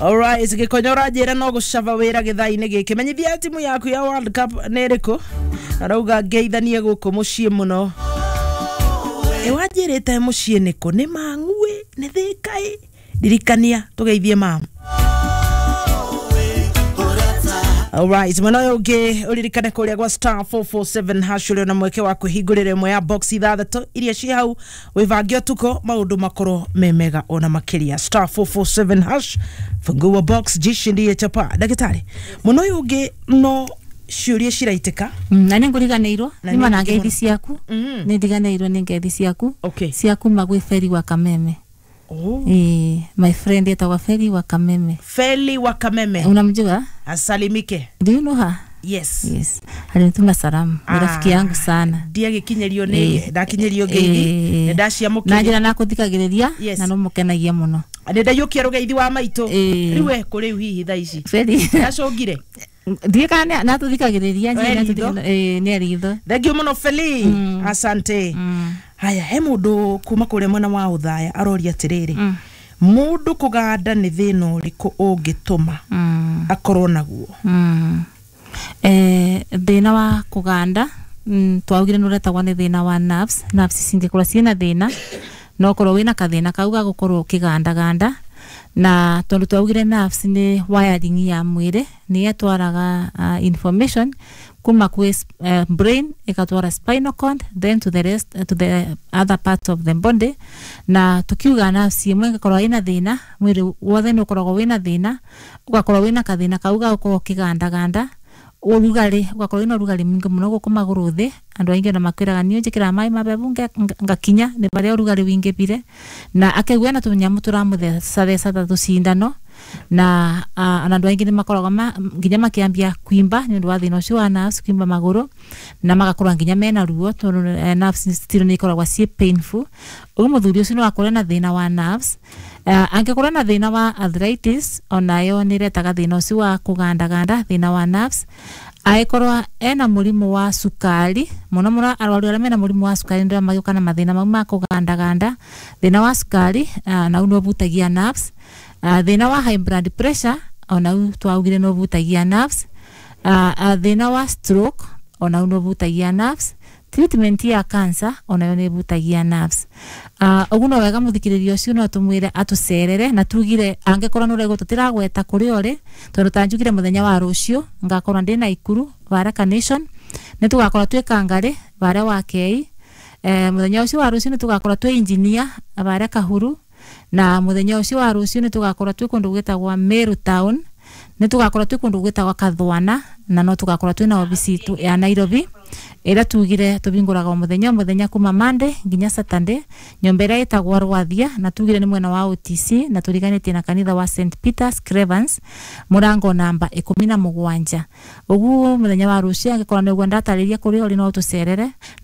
Alright, gĩkonyo ũranjĩra no gũcaba wĩra gĩthaa-inĩ gĩkĩ. Menyithia timu yaku ya World Cup nĩ ĩrĩkũ? Arauga ngeithanie gũkũ mũciĩ mũno. Ĩ wanjĩrĩte mũciĩ nĩkũ? Nĩ Mang'uĩ? Nĩ Thĩka ĩ? Ndirikania tũgeithie mamu. Alright, mwena ũyũ ũngĩ ũririkane kũrĩa gwa *447# ũrĩ na mweke wa kwĩhingũrĩra ĩmwe ya box ithathatũ iria ciĩ hau wĩbange ũtukũ maũndũ makorwo me mega ona makĩria. *447# fungua box jishindie chapa. Ndagĩtarĩ, mwena ũyũ ũngĩ no ciũria ciraitĩka. Na nä ngå riganä Na nä mana nĩ ngeithi ciaku. Nä ndiganä irwo nä ngeithi ciaku Okay. cia kuma gwä Feri wa Kameme. Oh. Ĩĩ, my friend etagwa Feri wa Kameme. Feli wa Kameme. Unamjua? Asalimike. Do you know her? Yes. Yes, alinituma salamu. Ni Ah. rafiki yangu sana. Ndiagĩkinyĩrio nĩ ndakinyĩrio ngeithi. Ĩĩ. Nĩ ndaciamũkĩria. Na njĩra nakũthikagĩrĩria Yes. na no mũkenagia mũno. Nĩ ndaiyũkia rũgeithi wa maitũ. Ĩĩ. Rĩu e kũ rĩu hihi thaa ici? Feri. Ndacũngire. Ndiĩ kana natũthikagĩrĩria. E ritho. Nĩ aritho. Thengiũ mũno Feli. Asante. Haya, he mũndũ kuma kũrĩa mwena wa ũthaya aroria atĩrĩrĩ, mũndũ kũganda nĩ thĩna ũrĩkũ ũngĩtũma akorwo naguo? Thĩna wa kũganda, twaugire nĩ ũretagwo nĩ thĩna wa nerves. Nerves cingĩkorwo ciĩna thĩna no ũkorwo wĩna kathĩna kau ga gũkorwo ũkĩgandaganda, na tondũ twaugire nerves nĩ wiring ya mwĩrĩ, nĩ ĩtwaraga information kuma kwĩ brain ĩgatwara spinal cord, then to the rest, to the other parts of the body. Na tukiuga nerves ĩmwe ĩngĩkorwo ĩna thĩna, mwĩrĩ wothe nĩ ũkoragwo wĩna thĩna, ũgakorwo wĩna kathĩna kau ga gũkorwo ũkĩgandaganda, ũrugarĩ ũgakorwo wĩna ũrugarĩ mũingĩ mũno gũkũ magũrũ thĩ. Andũ aingĩ ona makwĩraga niĩ njĩkĩraga maĩ mabebu ngakinya nĩ barĩa ũrugarĩ wingĩbire, na akaigua na tũnyamũ tũramũthecatheca ta tũcindano, na ona andũ aingĩ nĩ makoragwo nginya makĩambia kwimba nĩ ũndũ wa thĩna ũcio wa nerves, kwimba magũrũ, na magakorwo nginya mena ruo tondũ nerves still nĩ ikoragwo ciĩ painful. Ũguo mũthuri ũcio no akorwo na thĩna wa nerves. Angĩkorwo na thĩna wa arthritis, onayo nĩ ĩretaga thĩna ũcio wa kũgandaganda, thĩna wa nerves. Angĩkorwo ena mũrimũ wa cukari, mũno mũno arwaru arĩa mena mũrimũ wa cukari nĩo magĩũka na mathĩna mau ma kũgandaganda. Thĩna wa cukari nau nĩ ũbutagia nerves. Thĩna wa high blood pressure onau twaugire nĩ ũbutagia nerves. Thĩna wa stroke onau nĩ ũbutagia nerves. Treatment ya cancer onayo nĩ ĩbutagia nerves. Ũguo no wega mũthikĩrĩria ũcio no tũmwĩre atũcerere, na tugire angĩkorwo nĩ ũraigua tũtiragweta kũrĩa ũrĩ, tondũ ta njugire mũthenya wa rũciũ ngakorwo ndĩ Naikuru Baraka Nation, nĩ tũgakorwo twĩ Kangarĩ barĩa wa Kei. Mũthenya ũcio wa rũciũ nĩ tũgakorwo twĩ engineer barĩa Kahuru, na mũthenya ũcio wa rũciũ nĩ tũgakorwo twĩ kũndũ gwĩtagwo Meru Town, nĩ tũgakorwo twĩ kũndũ gwĩtagwo Kathwana, na no tũgakorwo twĩna obici itũ ya Nairobi ĩrĩa tugire tũbingũraga o mũthenya o mũthenya kuma Monday nginya Saturday, nyũmba ĩrĩa ĩtagwo Rwathia, na tugire nĩ mwena wa OTC na tũriganĩtie na kanitha wa St Peters Cravens, mũrango namba 17. Ũguo mũthenya wa rũciũ angĩkorwo nĩguo ndatarĩria kũrĩa ũrĩ no ũtũcerere.